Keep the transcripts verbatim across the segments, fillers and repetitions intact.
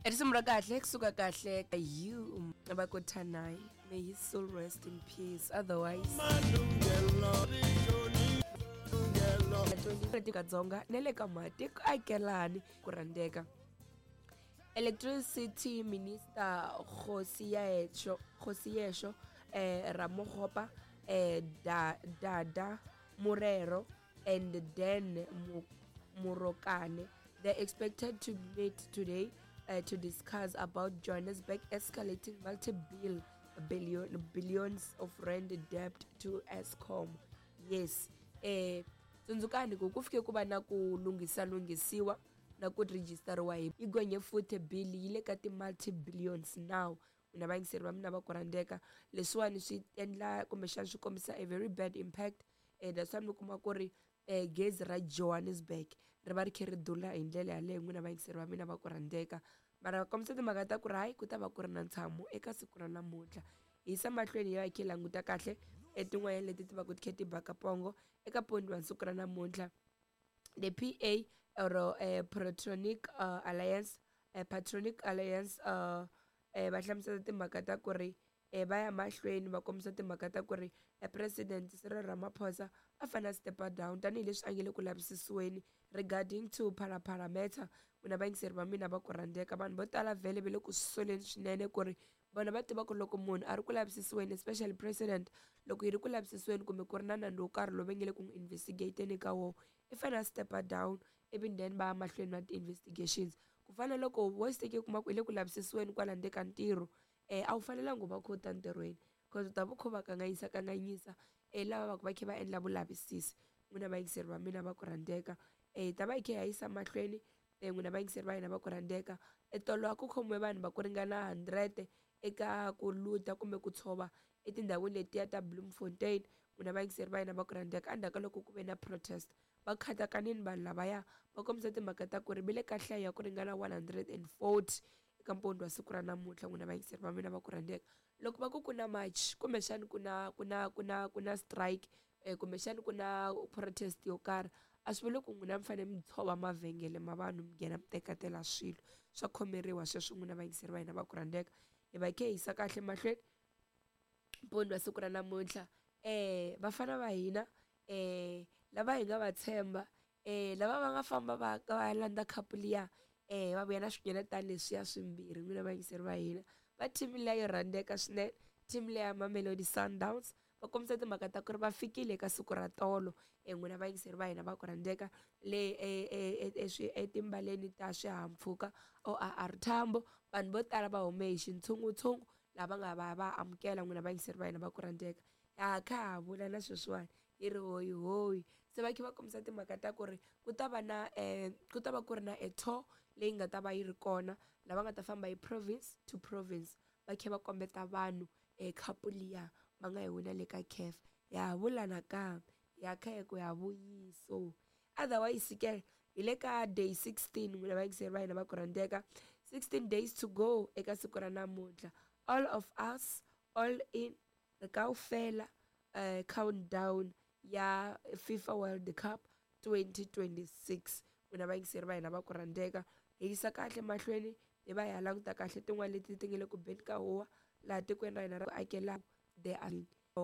Risimu ra kahle kusuka kahle ka you va ku Thanai, may his soul rest in peace. Otherwise Dzonga na le ka matiko akelani ku rhandzeka. Electricity Minister Kgosientsho Kgosientsho eh, Ramokgopa, eh, da, Dada Morero and Dan Morokane, they're expected to meet today uh, to discuss about Johannesburg escalating multi-bill billion billions of rand debt to Eskom. Yes, eh tsundzukani ku ku fike ku va na ku lunghisa lunghisiwa na ku rejistariwa hi yi gonye futhi bill yi le ka ti-multi billions now. N'wina vayingiseri va mina va ku rhandzeka, leswiwani swi endla kumbexana swi kombisa a very bad impact. eh that's why mi kuma ku ri eh gezi ra Johannesburg ri va ri kha ri dula hi ndlela yaleyo. N'wina vayingiseri va mina va ku rhandzeka, mara va kombisa timhaka ta ku ri hayi ku ta va ku ri na ntshamo eka siku ra namuntlha. Hi yisa mahlweni hi ya hi kha hi languta kahle etin'wanyana leti ti va ku ti kha ti baka pongo eka pondi wa siku ra namuntlha. The P A or uh, Patronic uh, Alliance, uh, Patronic Alliance uh, eh, va hlamusela timhaka ta ku ri eh, va ya mahlweni va kombisa timhaka ta ku ri eh, President Cyril Ramaphosa a fanele a step down tanihileswi a nge le ku lavisisiweni regarding to Phala Phala matter. N'wina vayingiseri va mina va ku rhandzeka, vanhu vo tala vhele va le ku soleni swinene ku ri vona va tiva ku loko munhu a ri ku lavisisiweni, especially president, loko yi ri ku lavisisiweni kumbe ku ri na nandzu wo karhi lowu va nge le ku n'wi investigateni ka wona, i fanele a step down ivi then va ya mahlweni na ti-investigations. Ku fana na loko wo seke kuma ku i le ku lavisisiweni kwala ndzeni ka ntirho, um a wu fanelanga u va kha u ta ntirhweni cause u ta va u kha u va kanganyisa kanganyisa um lava va ku va kha va endla vulavisisi. N'wina vayingiseri va mina va ku rhandzeka, um hi ta va hi kha hi ya yisa mahlweni. um n'wina vayingiseri va hina va ku rhandzeka, etolo a ku khomiwe vanhu va ku ringana hundred eka ku luta kumbe ku tshova etindhawini letiya ta Bloemfontein. N'wina vayingiseri va hina va ku rhandzeka, endzhaku ka loko ku ve na protest, va khatakanini vanhu lavaya, va kombisa timhaka ta ku ri va le ka nhlayo ya ku ringana one hundred and forty eka mpundzu wa siku ra namuntlha. N'wina vayingiseri va mina va ku rhandzeka, loko va ku ku na march kumbexani ku na ku na ku na ku na strike, um kumbexani ku na protest yo karhi, a swi vuli ku n'wina mi fanele mi tshova mavhengele ma vanhu, mi nghena mi teketela swilo. Swa khomeriwa sweswo. N'wina vayingiseri va hina va ku rhandzeka, hi va hi kha hi yisa kahle mahlweni mpundzu wa siku ra namuntlha. um vafana va hina, um lava hi nga va tshemba, um lava va nga famba va va ya landza khapu liya, um va vuya na swinyeletana leswiya swimbirhi. N'wina vayingiseri va hina va team liya yo rhandzeka swinene, team liya ya Mamelodi Sundowns, va kombisa timhaka ta ku ri va fikile eka siku ra tolo. um n'wina vayingiseri va hina va ku rhandzeka, le etimbaleni ta swihahampfhuka O R Tambo, vanhu vo tala va hume hi xintshunguntshungu lava nga va va amukela. N'wina vayingiseri va hina va ku rhandzeka, ha kha ha vula na sweswiwani hi ri hoyi hoyi se va kha va kombisa timhaka ta ku ri ku ta va na um ku ta va ku ri na a tour leyi nga ta va yi ri kona, lava nga ta famba hi province to province va kha va kombeta vanhu um khapu liya va nga yi wina le ka CAF. Ya ha vula nakambe ya kha hi ku ya vuyiso. Otherwise ke hi le ka day sixteen. N'wina vayingiseri va hina va ku rhandzeka, sixteen days to go eka siku ra namuntlha. All of us, all in, ri kaufela, uh, countdown ya FIFA World Cup twenty twenty-six. N'wina vayingiseri va hina va ku rhandzeka, hi yisa kahle mahlweni, hi va hi ya languta kahle tin'wana leti ti nga le ku beni ka huwa laha tikweni ra hina ra akela the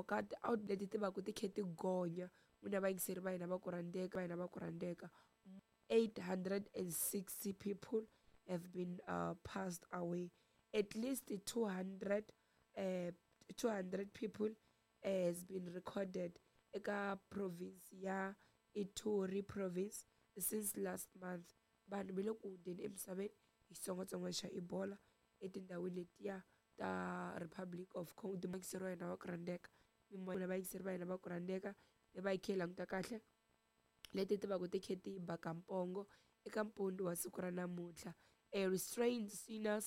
ka out leti ti va ku ti kha ti gonya. N'wina vayingiseri va hina va ku rhandzeka va hina va ku rhandzeka eight hundred and sixty people have been uh, passed away. At least two hundred uh, two hundred people uh, has been recorded eka province ya Ituri province since last month. Vanhu va le ku hundzeni emisaveni hi xitsongwatsongwana xa Ebola etindhawini letiya ta Republic of Congo. Vayingiseri va hina va ku rhandzeka, n'wina vayingiseri va hina va ku rhandzeka, hi va hi kha hi languta kahle leti ti va ku ti kha ti baka mpongo eka mpundzu wa siku ra namuntlha. A restrained sinners.